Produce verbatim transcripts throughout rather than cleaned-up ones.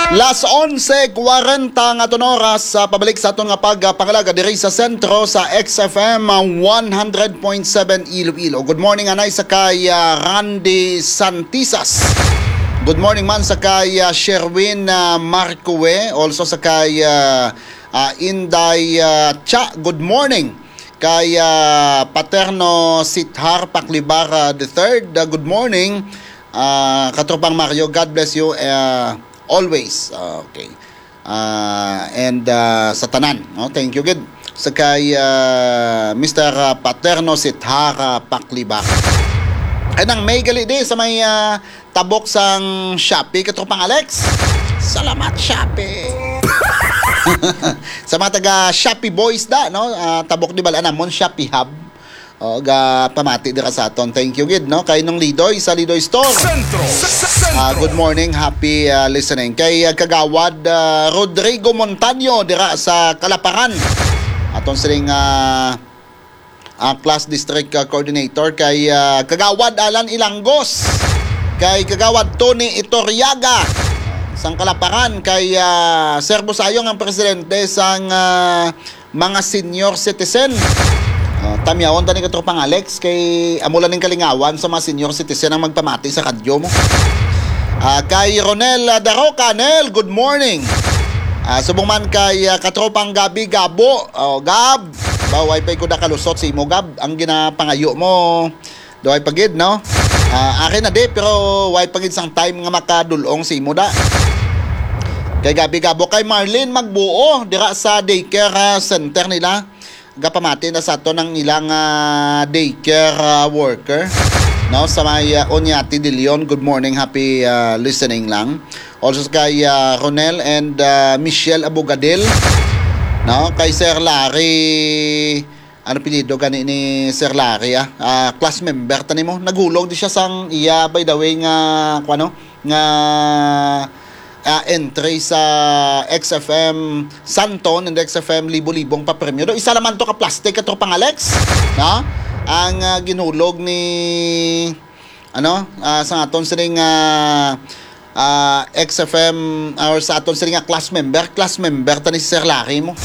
Las onse kwarenta nga aton oras, sa pabalik sa aton nga pagpangalaga diri sa sentro sa X F M, ah, one hundred point seven Iloilo. Good morning, anay sa kay, ah, Randy Santisas. Good morning man sa kay, ah, Sherwin, ah, Marcoe. Also sa kay, ah, ah, Inday, ah, Cha. Good morning. Kay, ah, Paterno Sithar Paklibara the third. Ah, good morning. Ah, Katropang Mario, God bless you. Ah, always. Ah, okay. Ah, and, ah, sa tanan, no? Thank you gid sa kay, ah, Mister, ah, Paterno Sithara Paklibar. Ay, nang may gali di sa may, ah, tabok sang Shopee, Katropang Alex. Salamat, Shopee. Sa mga taga Shopee Boys da, no? Ah, tabok di bala namon, Shopee Hub. O, ga pamati dira sa aton. Thank you gid, no? Kay Nong Lidoy sa Lidoy Store. Sentro. Sa, sa, sa Ah, Sentro. Good morning. Happy, ah, listening. Kay, ah, Kagawad, ah, Rodrigo Montaño dira sa Kalaparan. Aton sining, ah, ah, class district, ah, coordinator kay, ah, Kagawad Alan Ilangos. Kay Kagawad Tony Itoriaga sang Kalaparan kay, ah, Sir Busayong ang presidente sang, ah, mga senior citizen. Ah, tamyawon ta ni Katropang Alex kay amo lang ning kalingawan sa mga senior citizen ang magpamati sa kadyo mo. Ah, kay Ronel, ah, Daroca, Nel, good morning. Ah, subong man kay, ah, Katropang Gabi Gabo. Oh, Gab, ba, way pa ko nakalusot sa imo, Gab. Ang ginapangayo mo, duhay pa gid, no? Ah, akin na di, pero way pa gid sang time nga makadulong sa imo da. Kay Gabi Gabo, kay Marlene Magbuo, dira sa daycare, ah, center nila. Gapamati na sa aton ang ilang, ah, daycare, ah, worker, no? Sa may, ah, Oñate de Leon, good morning, happy, ah, listening lang. Also kay, ah, Ronel and, ah, Michelle Abogadil, no? Kay Sir Larry, ano apelyido gani ni Sir Larry, ah? Ah, class member ta nimo. Naghulog di siya sang iya, by the way, nga, kuwano, nga, ah, entry sa X F M Santon and X F M Libo-Libong papremyo. Do, isa naman to ka plastic, Katropang Alex, no? Ang, ah, ginhulog ni, ano, ah, sa aton sining, ah, ah, X F M or sa aton sining nga class member, class member ta ni si Sir Larry mo.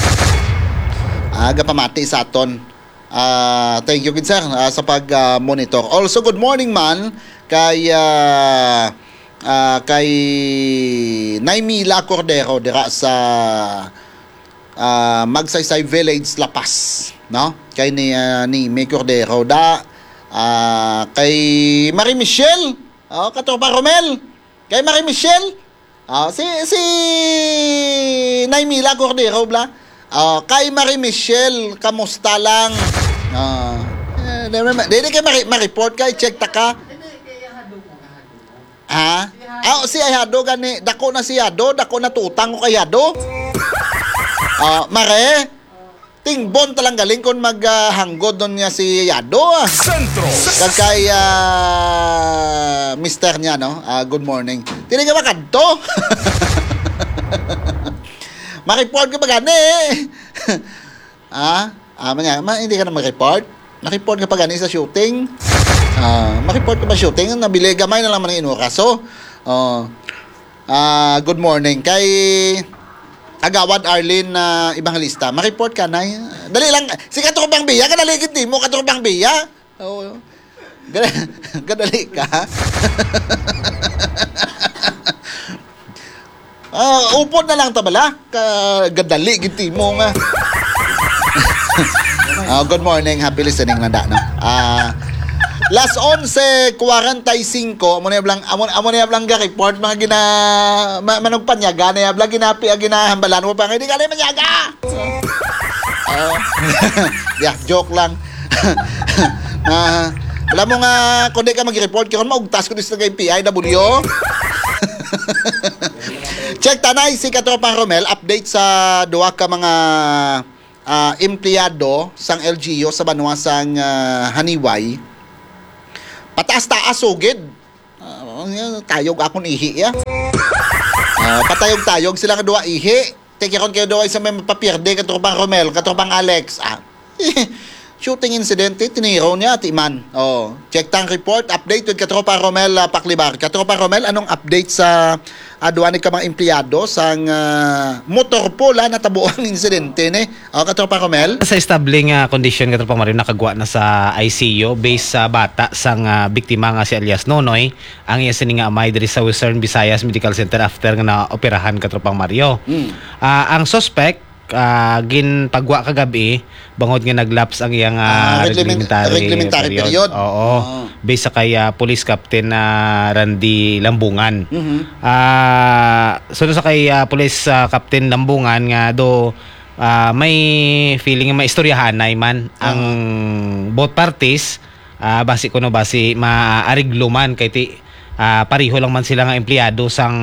Ah, gapamati sa aton. Ah, thank you gid, sir, ah, sa pag, ah, monitor. Also, good morning man kay, ah, ah, kay Nay Mila Cordero dira sa, ah, Magsaysay Village, La Paz, no? Kay ni, ah, ni May Cordero da, ah, kay Marie Michelle, oh, Katropa Romel, kay Marie Michelle, ah, si, si Nay Mila Cordero, bla? Ah, kay Marie Michelle, kamusta lang? Ah, eh, di, di, di kay mari-, ma-report kay, check ta ka. Ha? Ah, si Ayado gani, dako na si Yado, dako na tutang ko kay Yado. Ah, mare, tingbon talang galing kon mag, ah, hanggod nun niya si Yado, ah. Sentro. Kag kay, ah, mister niya, no? Ah, good morning. Tini ka ba kadto? Ma-report ka ba gani? Ah, ah, manya, ma, hindi ka na ma-report? Ma-report ka pa gani sa shooting? Ah, ma-report ka pa shooting? Nabili, gamay na lang man ang inuras. So, oh, ah, good morning. Kay Agawad Arlene, ah, Evangelista, ma-report ka, nay? Dali lang. Si Katropang Biya, kadali gid mo, Katropang Biya. Oo. Gada-, gadali ka. Ah, upod na lang ta bala. Ka-, gadali gid mo nga. Ah, good morning, happy listening lang da, no? Ah, las onse kwarenta y cinco, amo na yung blang, amo, amo na yung blang ga-report, mga gina-, ma-, manugpanyaga na yung blang ginapi-, ah, ginahambalan mo pa, hindi ka na manyaga! Oh. Yeah, joke lang. Ah, alam mo nga, kung di ka mag-report, kaya maugtas ko dito sa P I W. Check tanay si Katropang Romel, update sa duha ka mga, ah, empleyado sang L G U sa banwa sang, ah, Haniway. Pataas-taas sugid. Ah, tayog akon ihi, ya. Ah, patayog-tayog sila nga duha ihi. Tikiron kayo daw ay sa may mapapierde, Katropang Romel, Katropang Alex. Ah. Shooting incident, eh, tiniro niya, Ate Iman. Oh, check tang report. Update with Katropa Romel, ah, Paklibar. Katropa Romel, anong update sa, ah, duwa ni ka mga empleyado sang, ah, motor pool, ah, natabo ang insidente, ne? Oh, Katropa Romel? Sa establing, ah, kondisyon, Katropa Mario, nakagwa na sa I C U based sa bata sang, ah, biktima nga si alias Nonoy, ang iya sini nga amay diri sa Western Visayas Medical Center after nga naoperahan, Katropang Mario. Mm. Ah, ang suspect, ah, ginpagwa kagabi bangod nga nag-lapse ang iyang, ah, Ah, reglement-, reglementary reglementary period. period. Oo. Ah. Based sa kay, ah, Police Captain, ah, Randy Lambungan. Mhm. Ah, sunod sa kay, ah, Police, ah, Captain Lambungan nga do, ah, may feeling nga maistoryahanay man ang Aha. both parties, ah, basi kuno basi maariglo man kay ti, ah, pareho lang man sila nga empleyado sang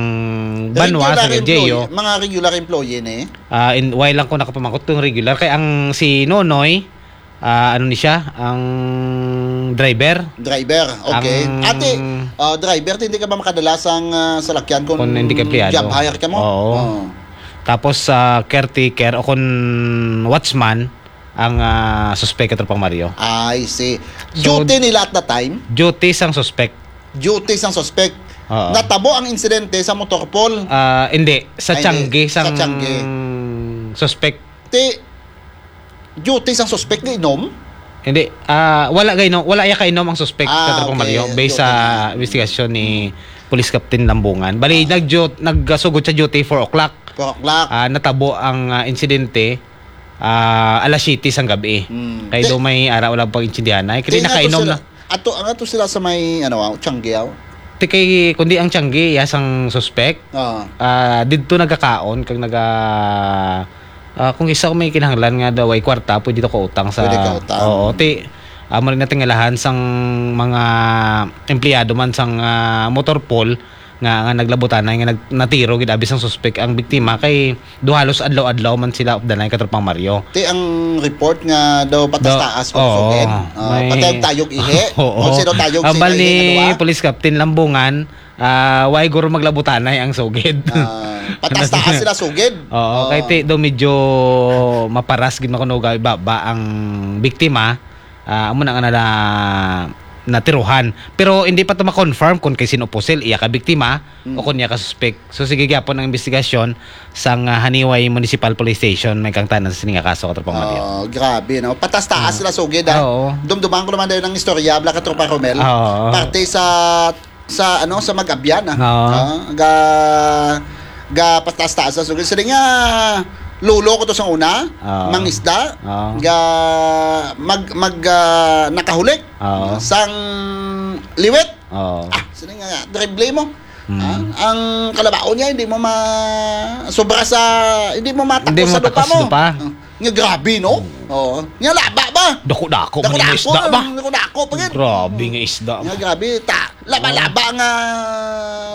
banwa, Regular sang employee, L G U. mga regular employee ni? Ah, in, why lang ko nakapamangkot kung regular kay ang si Nonoy, ah, ano ni siya, ang driver. Driver, okay. Ang Ate, ah, driver, hindi ka ba makadala sang, ah, salakyan kung Kung hindi ka empleyado. job hire ka mo? Oo. Oo. Tapos, ah, caretaker o kung watchman, ang, ah, suspek, Katropang Mario. I see. So, Duty nila at the time? Duty sang suspek. Duty sang suspek. Oo. Natabo ang insidente sa motor pool? Ah, hindi. Sa Ay, hindi. Tiangge Sa sang Tiangge. suspek. Ti, duty sang suspek nga inom? Hindi. Ah, wala kay no, wala iya kainom ang suspek, Ah, Katropang okay. Mario, based Duty sa niya. investigasyon ni Police Captain Lambungan. Bali, Ah. nag-, nagsugot sa duty four o'clock. Four o'clock. Ah, natabo ang, ah, insidente, ah, alas siyete sang gabi. Hmm. Kay Ti-, do may ara wala pag insidente. Kay ti nga to nakainom sila, na. ato, ang ato sila sa may, ano, ah, Tiangge, ah. Ti kay, kundi ang Tiangge, iya sang suspek. Ah. Ah, didto nagakaon kag naga-, ah, kung isa may kinahanglan nga daw ay kwarta, pwede to kautang sa Pwede kautang. Oo, ti, amo rin natingalahan sang mga empleyado man sang, ah, motor pool nga, nga naglabutanay nga nag-, natiro gid abi sang suspek ang biktima kay do halos adlaw-adlaw man sila updanay, Katropang Mario. Ti ang report nga daw patas-taas Do-, kung oo, sugid. Ah, may patay ang tayog ihi. Oo. Kung sino tayog, Ambal sino ihi ni nga duwa? Police Captain Lambungan, ah, way guro maglabutanay ang sugid. Ah, patas-taas sila sugid. Oo, Oo. kay ti do medyo maparas gid makuno gabi baba ang biktima. Ah, amo na nga nala-, natiruhan. Pero hindi pa to ma-confirm kung kay sino pusil, iya ka biktima Mm. o kung iya ka suspek. So, sige gyapon ang investigasyon sang, ah, Haniway Municipal Police Station, may kangtanan sa sini nga kaso, Katropang Mario. Oh, grabe, no? Patas-taas Ah. sila sugid, ah. Ah, oo. Dumduman ko naman dayon ang istorya, bla, Katropa Romel. Ah, oo. Parte sa, sa, ano, sa Mag-Abyan, ah. Oo. Ah, ga, ga patas-taas sa sugid. Sila nga, lolo ko to sa una, Ah. mangisda, Ah. ga, mag, mag, ah, nakahulik, Oo. sang liwit. Oo. Ah, sila nga, drible mo. Hmm. Ah, ang kalabaon niya, hindi mo ma-, sobra sa, hindi mo matakos Hindi mo sa lupa matakos mo. sa lupa. Ah, nga grabe, no? Hmm. Oo. Nga laba ba? Dako-dako man yung Dako-dako isda ba? ang, dako-dako pa gid. Grabe nga isda. Nga grabe, ta-, laba-laba Oo. nga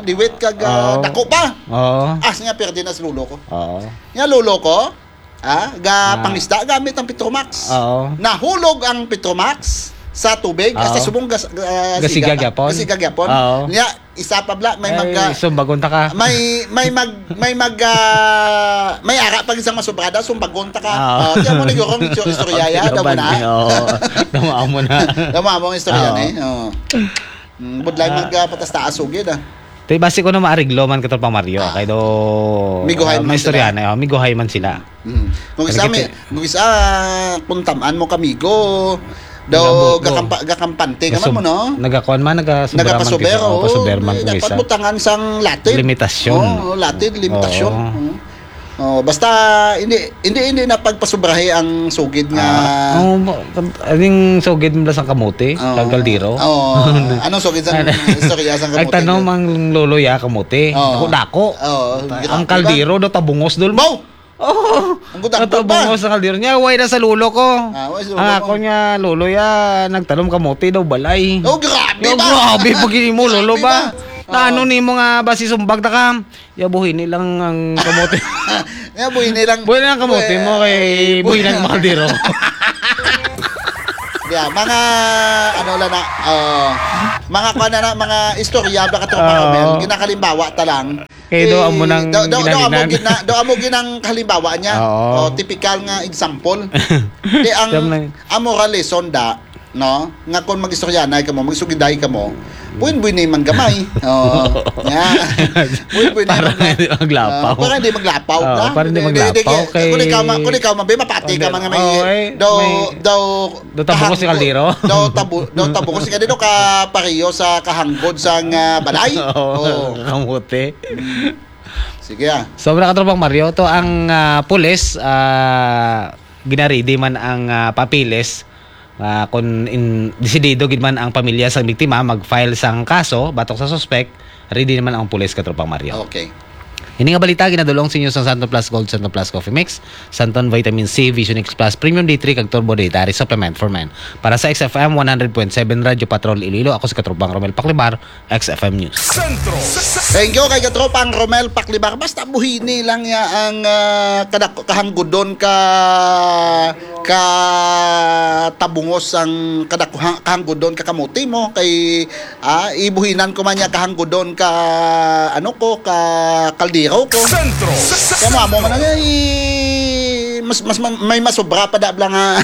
liwit kag, ah, Oo. dako pa. Oo. Ah, nga perde na sa lolo ko. Oo. Nga lolo ko, ah, ga Ah. pangisda gamit ang Petromax. Oo. Nahulog ang Petromax sa tubig, ah, sa Oo. subong gas-, ah, Gasiga siga-, gyapon. gasiga gyapon. Oo. Nya, isa pa bla, may Ay, mag, ah, sumbagon ta ka. may, may mag, may mag, ah, may ara pag isang masubrada, sumbagon ta ka. Oo. Oh, tiyan mo ni Gurong, istorya, istorya, Okay, daw mo laban na. ni, oo. Tama mo na. Tama mo ang istorya Oo. ni, oo. Mm, budlay Ah. mag, ah, patas-taas sugid, ah. Tay, basi ko na maariglo man, Katropang Mario, Ah. kay do, Miguhay ah, man may istorya sila. na, oh, miguhay man sila. Mm. Kung isa, Nagkiti- may, kung isa, kung tamaan mo kamigo, daw Nagabutlo. gakampa-, gakampante ka man Gasub-, mo, no? nagakuan man, nagasobra man Nagapasuber, kisa-, oh, oo. pasuber man Eh, kung dapat isa. butangan sang latid. Limitasyon. Oo, latid, limitasyon. Oo. Oo. Oh, basta hindi, hindi, hindi na pagpasubrahi ang sugid nga Ah, oh, ba-, aning sugid mo lang sa kamote, Oo. kag kaldero. Oo. Anong sugid sa Ano? istorya sa kamote Nagtanom niya? ang lolo ya kamote. Oo. Dako-dako. Oo, Ang grabe ba? kaldero do tabungos dul mo. Baw! Oo. Ang gudang Ang tabungos pa. sa kaldero niya, way na sa lolo ko. Ah, way sa lolo Ang ko. ako niya, lolo ya, nagtanom kamote daw balay. Oh, grabe Yo, ba? grabe pag mo, lolo Grabe ba? ba? Na Oo. ano ni mo nga basi sumbag ta ka? Ya, buhi ni lang ang kamote. Ya, buhi ni lang. Buhi na ang kamote mo kay Eh, buhi buhi na ang na. kaldero. Yeah, mga, ano lang na, oh, mga kuwan na na, mga istorya, baka tropa Oo. Romel, ginakalimbawa ta lang. Kay do amo nang daw, daw, daw amo ginalinan. gina, daw amo ginang halimbawa niya. Oo. O, typical nga example. Di ang Tam lang. Amo ra lesson da, no? Nga kung mag-istoryanay kamo, magsugiday kamo, buin-buin ni man gamay. Oo. Nya. Buin-buin ni Para man hindi maglapaw. Ah, para hindi maglapaw. Oo, Na? para hindi Di- di- maglapaw di- kay Kung ikaw ma, kung ikaw mabe, mapati ka man nga may Oo, eh, daw may daw daw tabukos si kahanggo- kaldero. Daw tabu, daw tabukos si kaldero ka pareho sa kahanggod sang ah, balay. Oo, Oo. kamote. Sige ah. Sobra ka, Tropang Mario, to ang ah, pulis, ah, ginaridi man ang ah, papiles. Ah, kung in, desidido gid man ang pamilya sa biktima mag-file sang kaso batok sa suspek, ready naman ang pulis, ka, Tropang Mario. Okay. Ini nga balita ginadulong sa inyo sang Santon Plus Gold, Santon Plus Coffee Mix, Santon Vitamin C, Vision X Plus, Premium D three, kag Turbo Dietary Supplement for Men. Para sa X F M one hundred point seven Radyo Patrol Iloilo, ako si Katropang Romel Paclibar, X F M News. Sentro. Thank you kay Katropang Romel Paclibar. Basta buhini lang niya ang ah, kadak- kahanggudon ka ka tabungos ang kadak- kahang- kahanggudon ka kamote mo kay ah, ibuhinan ko man niya kahanggudon ka ano ko ka kaldero ko. Sentro. Kaya mo amo man na i- mas mas man- may masobra pa da lang ha.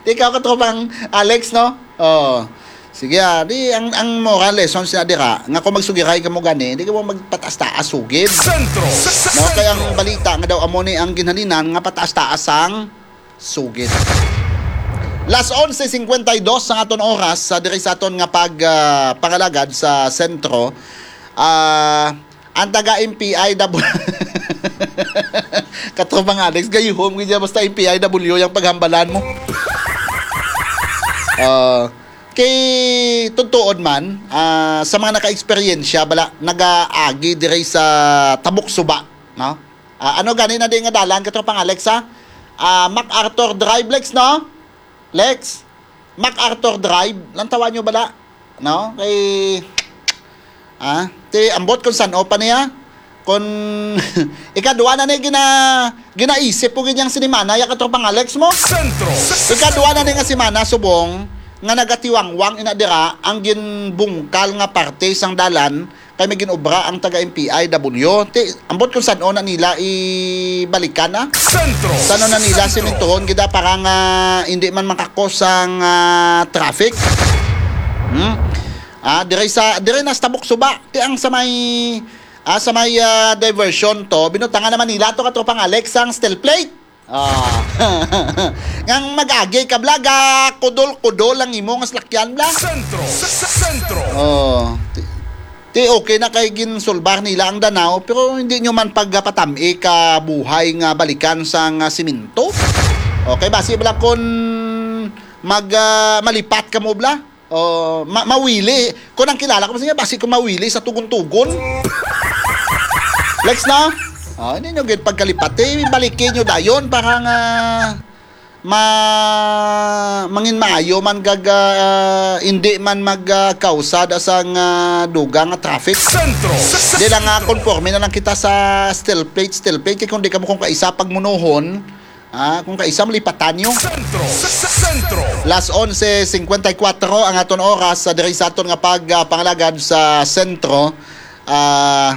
Di ikaw, Katropang Alex, no? Oh. Sige ah, di ang ang moral lesson sa dira nga kung magsugiray kamo gani, di kamo magpataas-taas sugid. Sentro. No, kay ang balita nga daw amo ni ang ginhalinan nga pataas-taas ang sugid. Las onse cincuenta y dos ang aton oras sa diri sa aton nga pag ah, pangalagad sa sentro. Ah, ang taga M P I W Katropang Alex, gayuhom gid siya basta M P I W yung paghambalan mo. Ah, kay totoo man, ah, sa mga naka-eksperyensya bala nagaagi diri sa Tabok Suba, no? Ah, ano gani na di nga dalan, Katropang Alex, ha? Ah, MacArthur Drive, Lex, no? Lex, MacArthur Drive, lantawan nyo bala, no? Kay ah, ti ambot kung san-o pa niya. Kung ikadwa na ni gina ginaisip ko gid yang sinimana ya, Katropang Alex, mo. Sentro. Ikadwa na ni nga simana subong nga nagatiwangwang ina dira ang ginbungkal nga parte sang dalan kay may ginobra ang taga M P I W. Ti ambot kung san-o na nila ibalikan, ah. Sentro. San-o na nila simintuhon gid, ah, para nga hindi man makakos ang ah, traffic. Hmm? Ah, dire sa dire na sa Tabok Suba, ti ang sa may ah, sa may ah, diversion to, binutangan naman nila to, Katropang Alex, ang steel plate. Ah. Ngang mag-agi ka bla, ga kudol-kudol ang imo nga salakyan bla. Sentro. Sentro. Oh. Ti, ti okay na kay ginsulbar nila ang Danao, pero hindi nyo man pagpatami ka buhay nga balikan sang ah, siminto. Okay, basi bala kun mag ah, malipat ka mo bla. Oh, ma- mawili. Kung ang kilala ko sa niya, basi kung mawili sa tugon-tugon. Lex na? Oh, hindi nyo gid pagkalipat. Eh, balikin nyo dayon para nga ma mangin maayo man gag ah, hindi man mag ah, kausa da sang ah, dugang nga traffic. Sentro. Di lang nga konforme na lang kita sa steel plate, steel plate. Kaya kung di ka mo kung kaisa pagmunuhon, ah, kung kaisa malipatan nyo. Sentro. Sentro. Las onse cincuenta y cuatro ang aton oras sa diri sa aton nga pag ah, pangalagad sa sentro. Ah,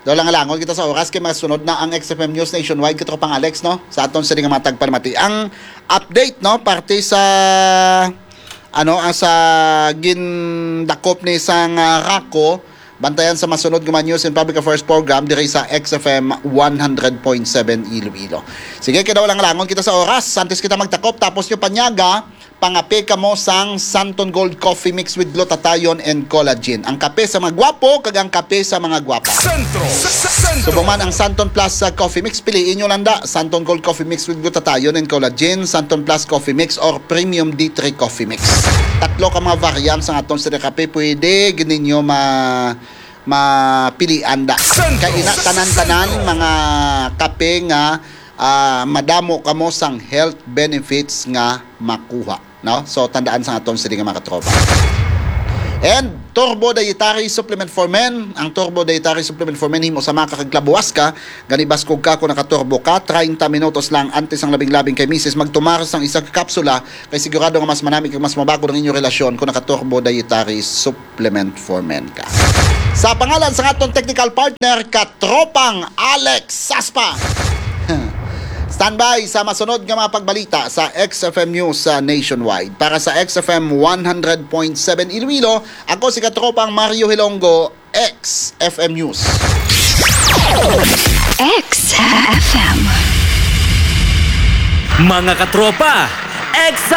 daw lang langon kita sa oras kay masunod na ang X F M News Nationwide, Katropang Alex, no? Sa aton sa nga matag palimati. Ang update, no, parte sa ano ang sa gindakop ni sang ah, Rako, bantayan sa masunod nga mga News and Public Affairs Program diri sa X F M one hundred point seven Iloilo. Sige, kay daw lang langon kita sa oras. Antes kita magtakop, tapos nyo panyaga, pangape kamo sang Santon Gold Coffee Mix with Glutathione and Collagen. Ang kape sa mga gwapo kag ang kape sa mga gwapa. Sentro. Sentro. Subong man ang Santon Plus sa Coffee Mix, piliin nyo lang da. Santon Gold Coffee Mix with Glutathione and Collagen, Santon Plus Coffee Mix, or Premium D three Coffee Mix. Tatlo ka mga variants ang aton sa kape. Pwede gid ninyo ma mapilian da. Kay ina tanan-tanan mga kape nga ah, madamo kamo sang health benefits nga makuha, no? So tandaan sa aton sini nga mga katropa. And Turbo Dietary Supplement for Men. Ang Turbo Dietary Supplement for Men, himo sa maka kag labuwas ka, gani baskog ka kung naka-turbo ka. Treinta minutos lang antes ang labing-labing kay misis magtumar sang isa ka kapsula, kay sigurado nga mas manami kag mas mabakod ang inyong relasyon kung naka-Turbo Dietary Supplement for Men ka. Sa pangalan sa aton technical partner, Katropang Alex Saspa. Standby sa masunod nga mga pagbalita sa X F M News sa Nationwide. Para sa X F M one hundred point seven Iloilo, ako si Katropang Mario Hilonggo, X F M News. X F M. Mga katropa, excited!